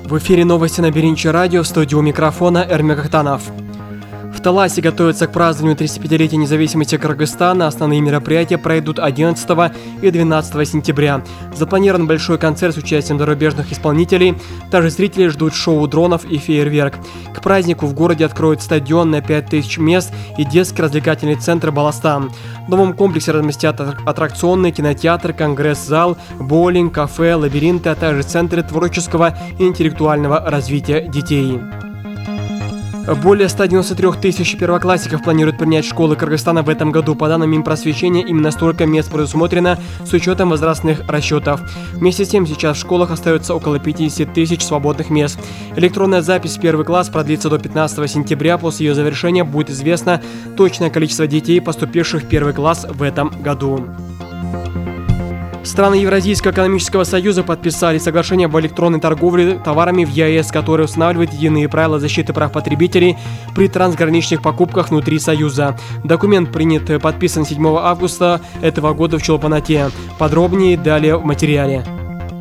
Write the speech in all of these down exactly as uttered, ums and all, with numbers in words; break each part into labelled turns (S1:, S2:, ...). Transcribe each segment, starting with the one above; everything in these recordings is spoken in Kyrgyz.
S1: В эфире новости на Биринчи радио, в студии у микрофона Эрмек Ахтанов. В Таласе готовятся к празднованию тридцатипятилетия независимости Кыргызстана. Основные мероприятия пройдут одиннадцатого и двенадцатого сентября. Запланирован большой концерт с участием зарубежных исполнителей. Также зрители ждут шоу дронов и фейерверк. К празднику в городе откроют стадион на пять тысяч мест и детский развлекательный центр «Баластан». В новом комплексе разместят аттракционный кинотеатр, конгресс-зал, боулинг, кафе, лабиринты, а также центры творческого и интеллектуального развития детей. Более ста девяноста трёх тысяч первоклассников планируют принять школы Кыргызстана в этом году. По данным Минпросвещения, именно столько мест предусмотрено с учетом возрастных расчетов. Вместе с тем, сейчас в школах остается около пятидесяти тысяч свободных мест. Электронная запись в первый класс продлится до пятнадцатого сентября. После ее завершения будет известно точное количество детей, поступивших в первый класс в этом году. Страны Евразийского экономического союза подписали соглашение об электронной торговле товарами в ЕАЭС, которое устанавливает единые правила защиты прав потребителей при трансграничных покупках внутри Союза. Документ принят, подписан седьмого августа этого года в Чолпан-Ате. Подробнее далее в материале.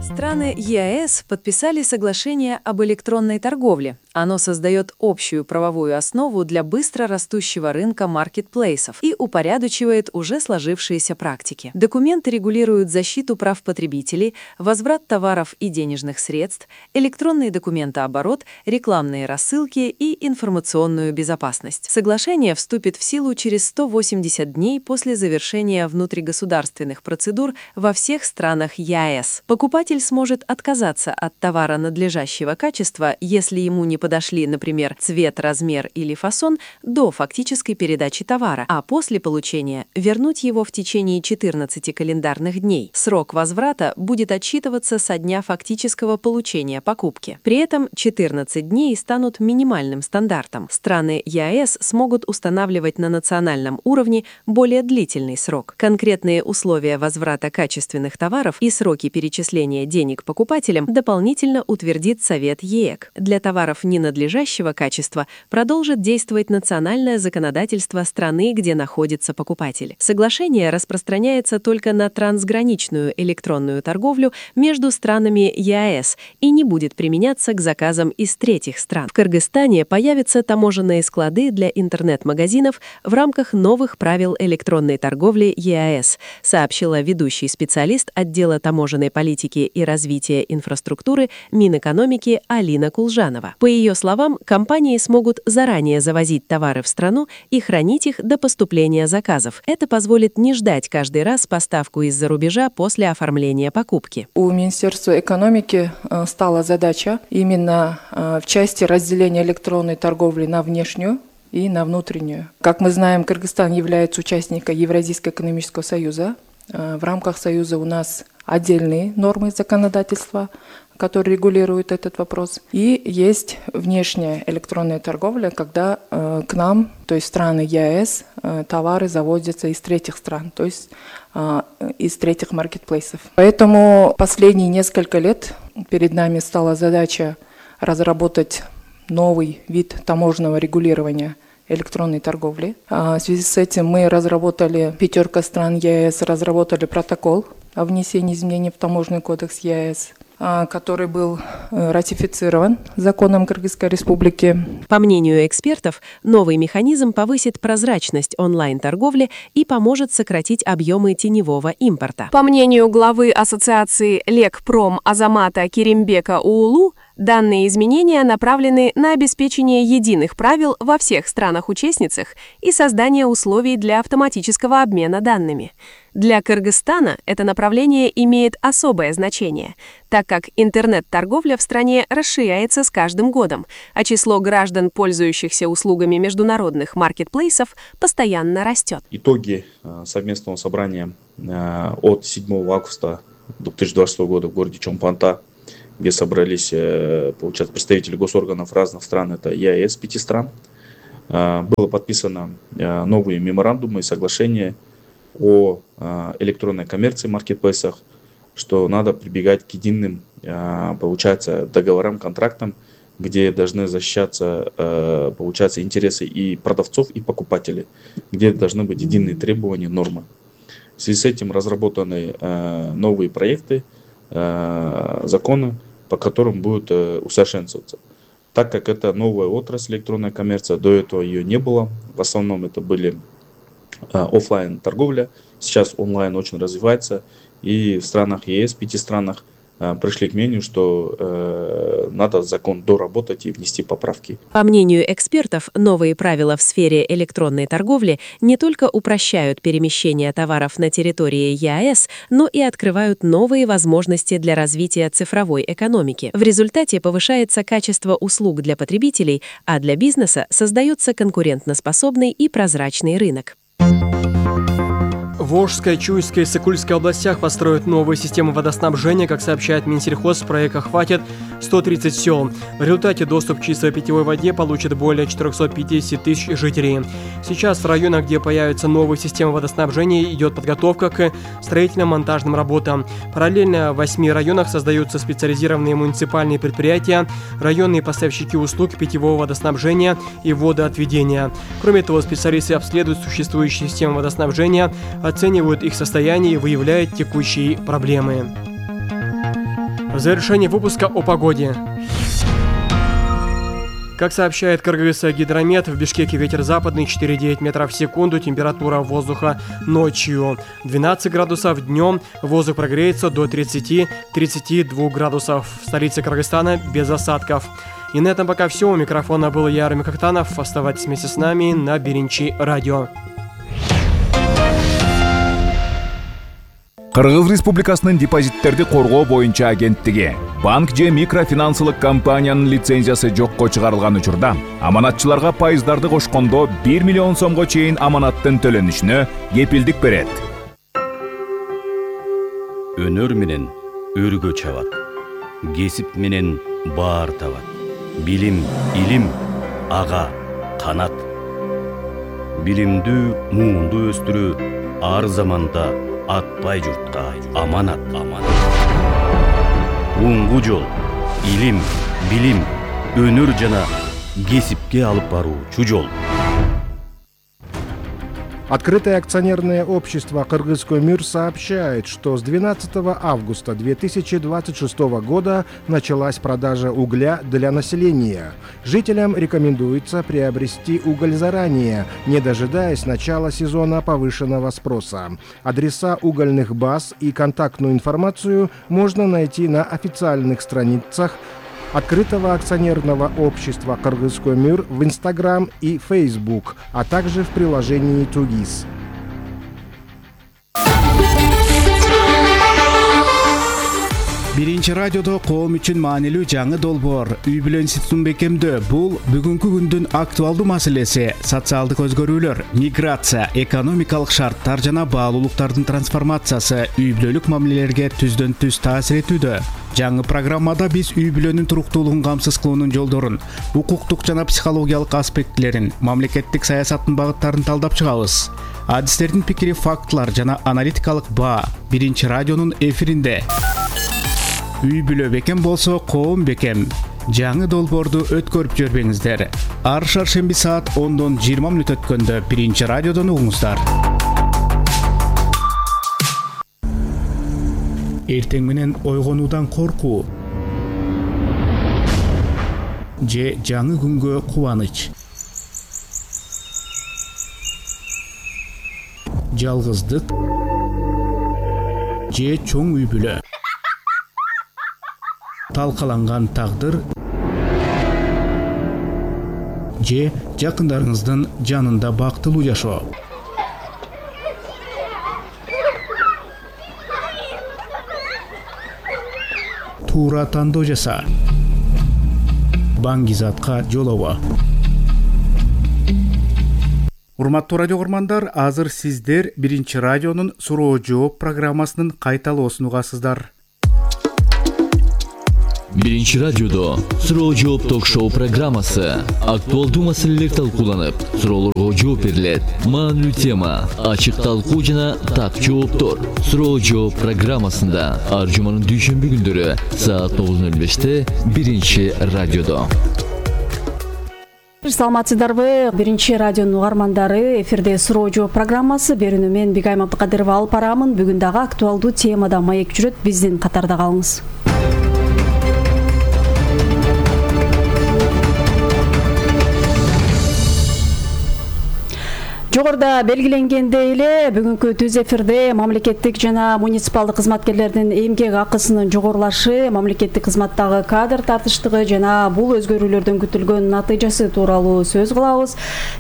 S2: Страны ЕАЭС подписали соглашение об электронной торговле. Оно создает общую правовую основу для быстро растущего рынка маркетплейсов и упорядочивает уже сложившиеся практики. Документы регулируют защиту прав потребителей, возврат товаров и денежных средств, электронный документооборот, рекламные рассылки и информационную безопасность. Соглашение вступит в силу через сто восемьдесят дней после завершения внутригосударственных процедур во всех странах ЕАЭС. Покупатель сможет отказаться от товара надлежащего качества, если ему не подошли, например, цвет, размер или фасон до фактической передачи товара, а после получения вернуть его в течение четырнадцати календарных дней. Срок возврата будет отсчитываться со дня фактического получения покупки. При этом четырнадцать дней станут минимальным стандартом. Страны ЕАЭС смогут устанавливать на национальном уровне более длительный срок. Конкретные условия возврата качественных товаров и сроки перечисления денег покупателям дополнительно утвердит Совет ЕЭК. Для товаров ненадлежащего качества продолжит действовать национальное законодательство страны, где находится покупатель. Соглашение распространяется только на трансграничную электронную торговлю между странами ЕАЭС и не будет применяться к заказам из третьих стран. В Кыргызстане появятся таможенные склады для интернет-магазинов в рамках новых правил электронной торговли ЕАЭС, сообщила ведущий специалист отдела таможенной политики и развития инфраструктуры Минэкономики Алина Кулжанова. По ее словам, компании смогут заранее завозить товары в страну и хранить их до поступления заказов. Это позволит не ждать каждый раз поставку из-за рубежа после оформления покупки.
S3: У Министерства экономики стала задача именно в части разделения электронной торговли на внешнюю и на внутреннюю. Как мы знаем, Кыргызстан является участником Евразийского экономического союза. В рамках союза у нас отдельные нормы законодательства, которые регулируют этот вопрос. И есть внешняя электронная торговля, когда э, к нам, то есть страны ЕАЭС, э, товары завозятся из третьих стран, то есть э, из третьих маркетплейсов. Поэтому последние несколько лет перед нами стала задача разработать новый вид таможенного регулирования электронной торговли. В связи с этим мы разработали, пятерка стран ЕАЭС разработали протокол о внесении изменений в таможенный кодекс ЕАЭС, который был ратифицирован законом Кыргызской Республики.
S2: По мнению экспертов, новый механизм повысит прозрачность онлайн-торговли и поможет сократить объемы теневого импорта.
S4: По мнению главы ассоциации Лекпром Азамата Керимбека Уулу, данные изменения направлены на обеспечение единых правил во всех странах-участницах и создание условий для автоматического обмена данными. Для Кыргызстана это направление имеет особое значение, так как интернет-торговля в стране расширяется с каждым годом, а число граждан, пользующихся услугами международных маркетплейсов, постоянно растет.
S5: Итоги совместного собрания от седьмого августа две тысячи двадцатого года в городе Чолпан-Ате, где собрались, получается, представители госорганов разных стран, это ЕАЭС, пяти стран, было подписано новые меморандумы и соглашения о электронной коммерции в маркетплейсах, что надо прибегать к единым, получается, договорам, контрактам, где должны защищаться, получается, интересы и продавцов, и покупателей, где должны быть единые требования, нормы. В связи с этим разработаны новые проекты, законы по которым будет усовершенствоваться. Так как это новая отрасль электронная коммерция, до этого ее не было. В основном это были офлайн торговля. Сейчас онлайн очень развивается. И в странах ЕС, пяти странах, пришли к мнению, что э, надо закон доработать и внести поправки.
S2: По мнению экспертов, новые правила в сфере электронной торговли не только упрощают перемещение товаров на территории ЕАЭС, но и открывают новые возможности для развития цифровой экономики. В результате повышается качество услуг для потребителей, а для бизнеса создается конкурентоспособный и прозрачный рынок.
S1: В Волжской, Чуйской и Сыкульской областях построят новые системы водоснабжения. Как сообщает Минсельхоз, в проект охватит сто тридцать сел. В результате доступ к чистой питьевой воде получат более четыреста пятьдесят тысяч жителей. Сейчас в районах, где появятся новые системы водоснабжения, идет подготовка к строительно-монтажным работам. Параллельно в восьми районах создаются специализированные муниципальные предприятия, районные поставщики услуг питьевого водоснабжения и водоотведения. Кроме того, специалисты обследуют существующие системы водоснабжения, оценивают их состояние и выявляют текущие проблемы. В завершении выпуска о погоде. Как сообщает Кыргызгидромет, в Бишкеке ветер западный четыре целых девять метров в секунду, температура воздуха ночью двенадцать градусов, днем воздух прогреется до тридцати-тридцати двух градусов. В столице Кыргызстана без осадков. И на этом пока все. У микрофона был я, Эрмек Актанов. Оставайтесь вместе с нами на Биринчи радио.
S6: Кыргыз Республикасынын депозиттерди коргоо боюнча агенттиги банк же микрофинансылык компаниянын лицензиясы жокко чыгарылган учурда аманатчыларга пайыздарды кошкондо бир миллион сомго чейин аманаттын төлөнүшүнө кепилдик берет.
S7: Өнөр менен өргө чабат, кесип менен баар табат, билим, илим, ага, канат. Билимдүү, муунду өстүрүү ар заманда атпай журтка аманат, аманат. Уңгу жол, илим, билим, өнөр жана кесипке алып баруучу жол.
S8: Открытое акционерное общество «Кыргызкөмүр» сообщает, что с двенадцатого августа две тысячи двадцать шестого года началась продажа угля для населения. Жителям рекомендуется приобрести уголь заранее, не дожидаясь начала сезона повышенного спроса. Адреса угольных баз и контактную информацию можно найти на официальных страницах Открытого акционерного общества «Кыргызкөмүр» в Инстаграм и Фейсбук, а также в приложении «Тугис».
S9: Биринчи радиодо коом үчүн маанилүү жаңы долбоор үй бүлө институтун бекемдөө. Бул бүгүнкү күндүн актуалдуу маселеси. Социалдык өзгөрүүлөр, миграция, экономикалык шарттар жана баалуулуктардын трансформациясы үй бүлөлүк мамилелерге түздөн түз таасир этүүдө. Жаңы программада биз үй бүлөнүн туруктуулугун камсыз кылуунун жолдорун, укуктук жана психологиялык аспектилерин, мамлекеттик саясаттын багыттарын талдап чыгабыз. Адистердин пикири, фактылар жана аналитикалык баа Биринчи радионун эфиринде. Үй бүлө бекем болсо, коом бекем. Жаңы долбоорду өткөрүп жөрбөңүздөр. Ар шаршемби саат ондон жыйырма мүнөт өткөндө Биринчи радиодон угуңуздар. Эртең менен ойгонуудан коркуу же жаңы күнгө кубаныч. Жалгыздык же чоң үй бүлө. Талкаланган тагдыр же жакындарыңыздын жанында бактылуу жашоо. Туура тандоо жаса. Баңгизатка жолобо. Урматтуу радио көрмандар, азыр сиздер Биринчи радионун суроо жооп программасынын кайталоосун угасыздар.
S10: Биринчи радиодо суроо жооп ток-шоу программасы. Актуалдуу маселелер талкууланып, суроолорго жооп берилет. Маанилүү тема, ачык талкуу жана так жооптор. Суроо жооп программасында ар жуманын дүйшөмбү күндөрү саат тогуз ноль беште Биринчи радиодо.
S11: Саламатсыздарбы? Биринчи радионун угармандары, эфирде суроо жооп программасы. Берүүнү мен Бигайым Абдыкадырова алып барамын. Бүгүн дагы актуалдуу темада маек жүрөт. Биздин катарда калыңыз. Жогоруда белгиленгендей эле бүгүнкү түз эфирде мамлекеттик жана муниципалдык кызматкерлердин эмгек акысынын жогорулашы, мамлекеттик кызматтагы кадр тартыштыгы жана бул өзгөрүүлөрдөн күтүлгөн натыйжасы тууралуу сөз кылабыз.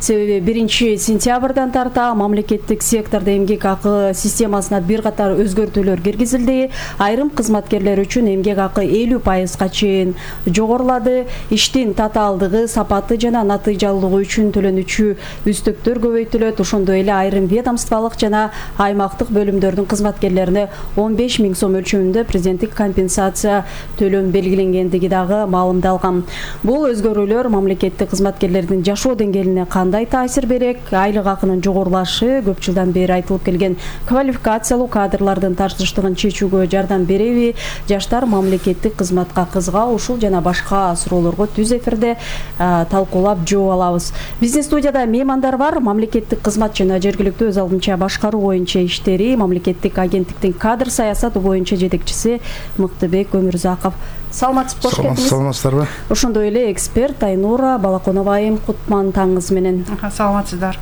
S11: Себеби биринчи сентябрдан тарта мамлекеттик сектордо эмгек акы системасына бир катар өзгөртүүлөр киргизилди. Айрым кызматкерлер үчүн эмгек акы элүү пайызга чейин жогорулады. Иштин татаалдыгы, сапаты жана натыйжалуулугу үчүн төлөнүүчү үстөктөр көбөйтүлөт. Ошондой эле айрым ведомстволук жана аймактык бөлүмдөрдүн кызматкерлерине он беш миң сом өлчөмүндө президенттик компенсация төлөм белгиленгендиги дагы маалымдалган. Бул өзгөрүүлөр мамлекеттик кызматкерлердин жашоо деңгээлине кандай таасир берек? Айлык акынын жогорулашы көп жылдан бери айтылып келген квалификациялуу кадрлардын тартыштыгын чечүүгө жардам береби? Жаштар мамлекеттик кызматка кызыгабы? Ушул жана башка суроолорго түз эфирде талкуулап жооп алабыз. Биздин студияда меймандар бар. Мамлекеттик кызмат жана жергиликтүү өз алдынча башкаруу боюнча иштери мамлекеттик агенттиктин кадр саясаты боюнча жетекчиси Мыктыбек Өмүрзаков. Саламатсызбы, кош келдиңиз.
S12: Саламатсыздарбы?
S11: Ошондой эле эксперт Айнура Балаконова айым, кутман таңыңыз менен.
S13: Саламатсыздар.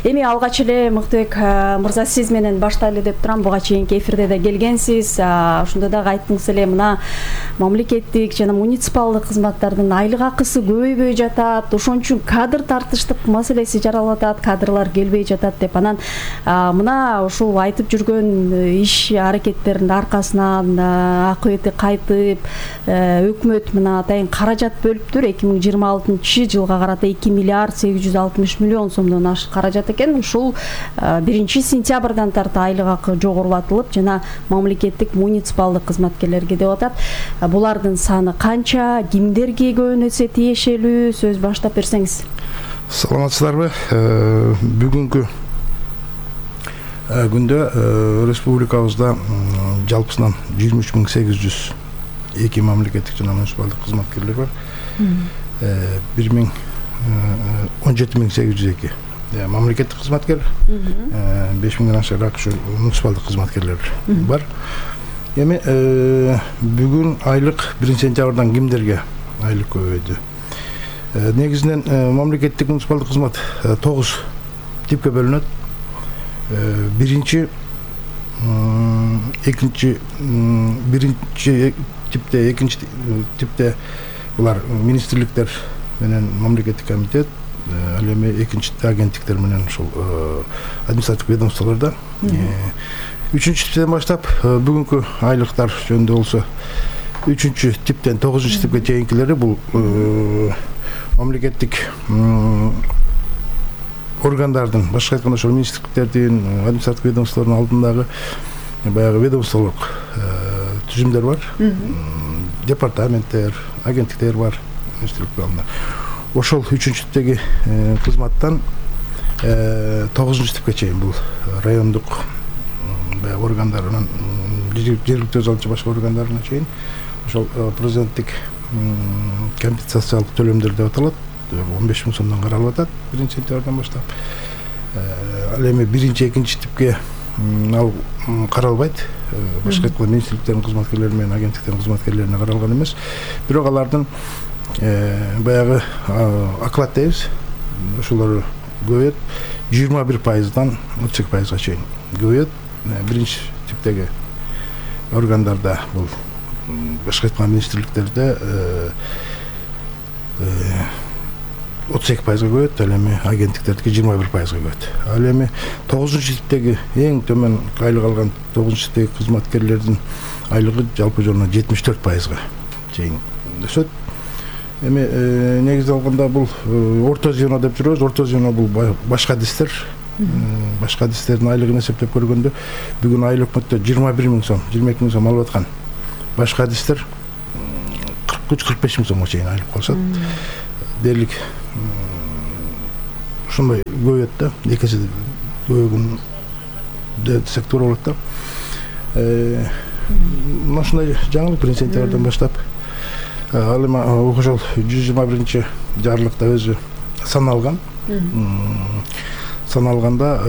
S11: Эми алгач эле Мыктыбек мырза сиз менен баштайлы деп турам. Буга чейинки эфирде да келгенсиз. Ошондо дагы айттыңыз эле мына мамлекеттик жана муниципалдык кызматтардын айлык акысы көбөйбөй жатат. Ошон үчүн кадр тартыштык маселеси жаралып атат, кадрлар келбей жатат деп. Анан мына ушул айтып жүргөн иш аракеттердин аркасынан акыбети кайтып, өкмөт мына атайын каражат бөлүптүр. эки миң жыйырма алтынчы жылга карата эки миллиард сегиз жүз алтымыш миллион сомдон ашык каражат экен. Ушул биринчи сентябрдан тарта айлык акы жогорулатылып жана мамлекеттик муниципалдык кызматкерлерге деп атат. Булардын саны канча, кимдерге көбүнесе тиешелүү? Сөз баштап берсеңиз.
S12: Саламатсыздарбы? Бүгүнкү күндө республикабызда жалпысынан жыйырма үч миң сегиз жүз эки мамлекеттик жана муниципалдык кызматкерлер бар. бир миң он жети миң сегиз жүз эки мамлекеттик кызматкер, беш миңден ашыраак ушу муниципалдык кызматкерлер бар. Эми бүгүн айлык биринчи сентябрдан кимдерге айлык көбөйдү? Негизинен мамлекеттик муниципалдык кызмат тогуз типке бөлүнөт. Биринчи, экинчи, биринчи типте, экинчи типте булар министрликтер менен мамлекеттик комитет, ал эми экинчи агенттиктер менен ушул административдик ведомстволордо. Үчүнчү типтен баштап бүгүнкү айлыктар жөнүндө болсо, үчүнчү типтен тогузунчу типке чейинкилери бул мамлекеттик органдардын, башка айтканда ошол министрликтердин, административдик ведомстволордун алдындагы баягы ведомстволук түзүмдөр бар. Департаменттер, агенттиктер бар, министрликтер. Ошол үчүнчү типтеги кызматтан тогузунчу типке чейин бул райондук органдарынан жергиликтүү өз алдынча башка органдарына чейин ошол президенттик компенсациялык төлөмдөр деп аталат. он беш миң сомдон каралып атат биринчи сентябрдан баштап. Ал эми биринчи, экинчи типке ал каралбайт. Башка айтканда министрликтердин кызматкерлери менен агенттиктердин кызматкерлерине каралган эмес. Бирок алардын баягы оклад дейбиз, ошолор көбөйөт. жыйырма бир пайыздан отуз эки пайызга чейин көбөйөт. Биринчи типтеги органдарда бул башка айтканда министрликтерде отуз эки пайызга көбөйөт, ал эми агенттиктердики жыйырма бир пайызга көбөйөт. Ал эми тогузунчу типтеги эң төмөн айлык алган тогузунчу типтеги кызматкерлердин айлыгы жалпы жолуна жетимиш төрт пайызга чейин өсөт. Эми негизи алганда бул орто звено деп жүрөбүз. Орто звено бул башка адистер. Башка адистердин айлыгын эсептеп көргөндө бүгүн айлык өкмөттө жыйырма бир миң сом, жыйырма эки миң сом алып аткан башка адистер кырк үч кырк беш миң сомго чейин айлык калышат. Дерлик ушундай көбөйөт да, эки эсе көбөйгөн десек туура болот да. Мына ушундай жаңылык биринчи сентябрдан баштап. Ал эми ошол жүз жыйырма биринчи жарлыкта өзү саналган. Саналганда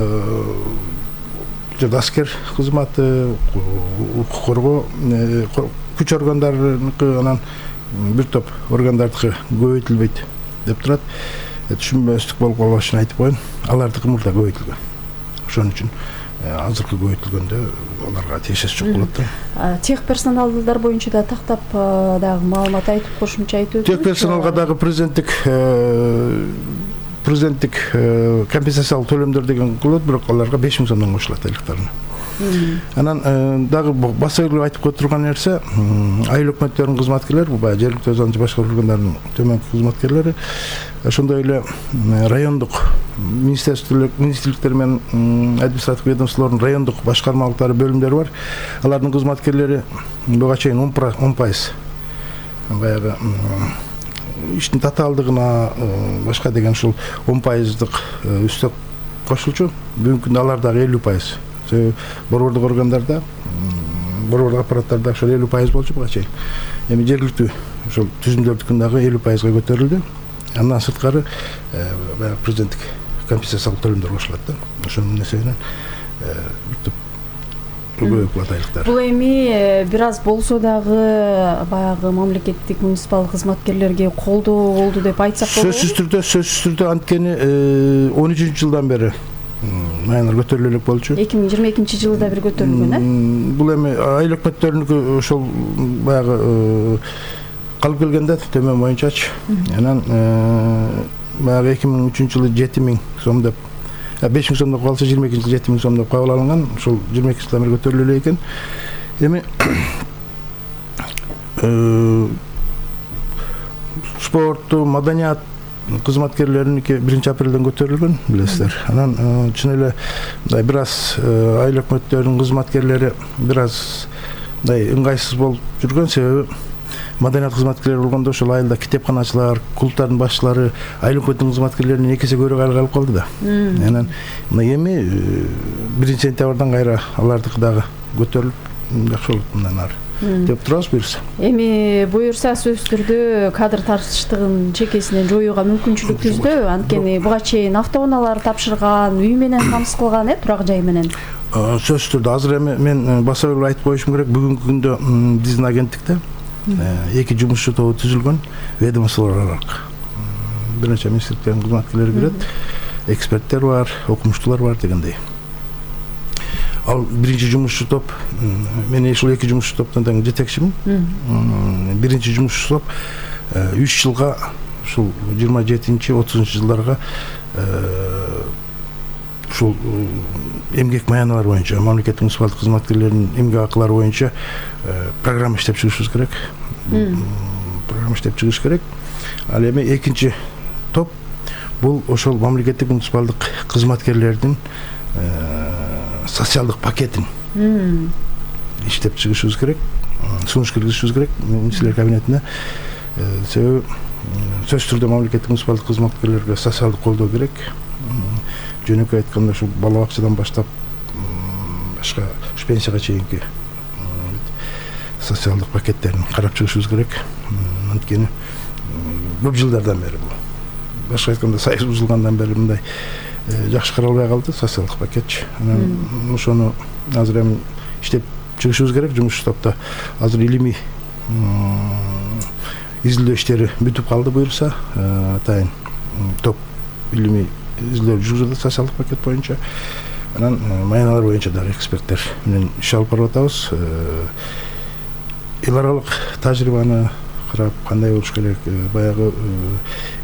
S12: аскер кызматы, укук коргоо, күч органдарыныкы, анан бир топ органдардыкы көбөйтүлбөйт деп турат. түшүнбөстүк болуп калбаш үчүн айтып коеюн, алардыкы мурда көбөйтүлгөн. Ошон үчүн азыркы көбөйтүлгөндө аларга тиешеси жок болот да.
S11: Тех персоналдар боюнча да тактап дагы маалымат айтып, кошумча айтып өтүңүз.
S12: Тех персоналга дагы президенттик президенттик компенсациялык төлөмдөр деген кылат, бирок аларга беш миң сомдон кошулат айлыктарына. Анан дагы баса эле айтып кое турган нерсе, айыл өкмөттөрүнүн кызматкерлери, баягы жергиликтүү өзү башкаруу органдарынын төмөнкү кызматкерлери, ошондой эле райондук министрликтер менен административдик ведомстволордун райондук башкармалыктары, бөлүмдөрү бар. Алардын кызматкерлери буга чейин он пайыз баягы иштин татаалдыгына башка деген ушул он пайыздык үстөк кошулчу. Бүгүнкү күндө алар дагы элүү пайыз. Борбордук органдарда, борбордук аппараттарда ошол элүү пайыз болчу буга чейин. Эми жергиликтүү ошол түзүмдөрдүкүн дагы элүү пайызга көтөрүлдү. Андан сырткары баягы президенттик компенсациялык төлөмдөр кошулат да. Ошонун несебинен көбөйүп калат айлыктар.
S11: Бул эми бир аз болсо дагы баягы мамлекеттик муниципалдык кызматкерлерге колдоо болду деп айтсак болобу?
S12: Сөзсүз түрдө, сөзсүз түрдө анткени он үчүнчү жылдан бери маянар көтөрүлө элек болчу.
S11: эки миң жыйырма экинчи жылы да бир көтөрүлгөн, э?
S12: Бул эми айыл өкмөттөрүнүкү ошол баягы калып келгенде төмөн боюнчачы. Анан баягы эки миң үчүнчү жылы жети миң сом деп, беш миң сом деп калса жыйырма экинчи жылы жети миң сом деп кабыл алынган. Ошол жыйырма экинчи жылдан бери көтөрүлө элек экен. Эми спортту, маданият кызматкерлериники биринчи апрелден көтөрүлгөн, билесиздер. Анан чын эле мындай бир аз айыл өкмөттөрүнүн кызматкерлери бир аз мындай ыңгайсыз болуп жүргөн, себеби маданият кызматкерлери болгондо ошол айылда китепканачылар, клубдардын башчылары айыл өкмөттүнүн кызматкерлеринен эки эсе көбүрөөк айлык алып калды да. Анан мына эми биринчи сентябрдан кайра алардыкы дагы көтөрүлүп жакшы болот мындан ары деп турабыз, буюрса.
S11: Эми буюрса сөзсүз түрдө кадр тартыштыгын чекесинен жоюуга мүмкүнчүлүк түздү. Анткени буга чейин автоунаалар тапшырган, үй менен камсыз кылган, э, турак жай менен.
S12: Сөзсүз түрдө азыр эми мен баса эле айтып коюшум керек, бүгүнкү күндө биздин агенттикте эки жумушчу тобу түзүлгөн, ведомстволор аралык. Бир нече министрликтердин кызматкерлери кирет, эксперттер бар, окумуштуулар бар дегендей. Ал биринчи жумушчу топ, мен ушул эки жумушчу топтун тең жетекчимин. Биринчи жумушчу топ үч жылга, ушул жыйырма жетинчи отузунчу жылдарга ушул эмгек маяналары боюнча, мамлекеттик муниципалдык кызматкерлеринин эмгек акылары боюнча программа иштеп чыгышыбыз керек. Программа иштеп чыгыш керек. Ал эми экинчи топ бул ошол мамлекеттик муниципалдык кызматкерлердин социалдык пакетин иштеп чыгышыбыз керек, сунуш киргизишибиз керек министрлер кабинетине. Себеби сөзсүз түрдө мамлекеттик муниципалдык кызматкерлерге социалдык колдоо керек. Жөнөкөй айтканда ушу бала бакчадан баштап башка пенсияга чейинки социалдык пакеттерин карап чыгышыбыз керек. Анткени көп жылдардан бери бул, башка айтканда союз бузулгандан бери мындай жакшы каралбай калды социалдык пакетчи. Анан ошону азыр эми иштеп чыгышыбыз керек. Жумуш топто азыр илимий изилдөө иштери бүтүп калды, буюрса атайын топ илимий изилдөө жүргүзүп атат социалдык пакет боюнча. Анан маяналар боюнча дагы эксперттер менен иш алып барып атабыз. Эл аралык тажрыйбаны карап кандай болуш керек, баягы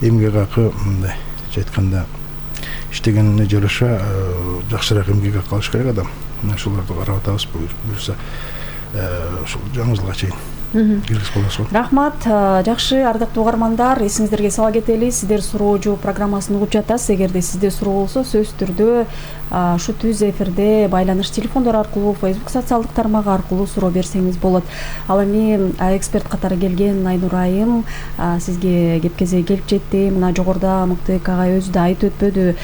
S12: эмгек акы мындай айтканда иштегенине жараша жакшыраак эмгек акы алыш керек адам. Ошолорду карап атабыз, буюрса ушул жаңы жылга чейин киргизип коесузбу.
S11: Рахмат, жакшы, ардактуу угармандар, эсиңиздерге сала кетели, сиздер суроожу программасын угуп жатасыз. Эгерде сизде суроо болсо, сөзсүз түрдө ушу түз эфирде байланыш телефондору аркылуу, Facebook социалдык тармагы аркылуу суроо берсеңиз болот. Ал эми эксперт катары келген Айнур айым сизге кеп кезеги келип жетти. Мына жогоруда Мыктыбек агай өзү да айтып өтпөдү.